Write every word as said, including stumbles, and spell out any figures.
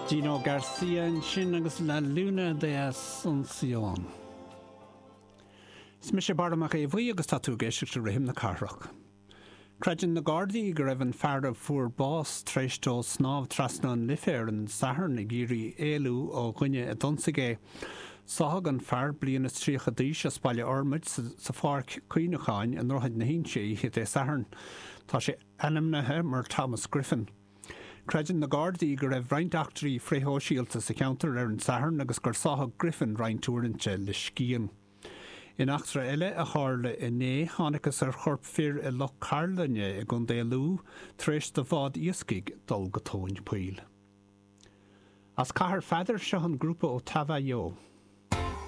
Gino Garcia ansin agus La Luna de Asunción. Is mise Barra Mac Aodha Bhuí agus tá tú ag éisteacht le Rithim na Cathrach. Creideann na Gardaí go raibh an fear a fuair bás tar éis dó snámh trasna an Life ar an Satharn ag iarraidh éalú ó dhuine a d'ionsaigh é. Sáthadh an fear bliain is tríocha d'aois as Baile Fhormaid sa pháirc cuimhneacháin i nDroichead na hInse oíche Dé Sathairn. Tá sé ainmnithe mar Thomas Griffin. Creideann na Gardaí go raibh roinnt eachtraí frithshóisialta sa cheantar ar an Satharn agus gur sáthadh Griffin roinnt uaireanta le scian. In eachtra eile a tharla inné, thángthas ar chorp fir i Loch Cairlinne i gContae Lú tar éis do bhád iascaigh dul go tóin poill. As Cathair Pheadair seo an grúpa ó Tavayo.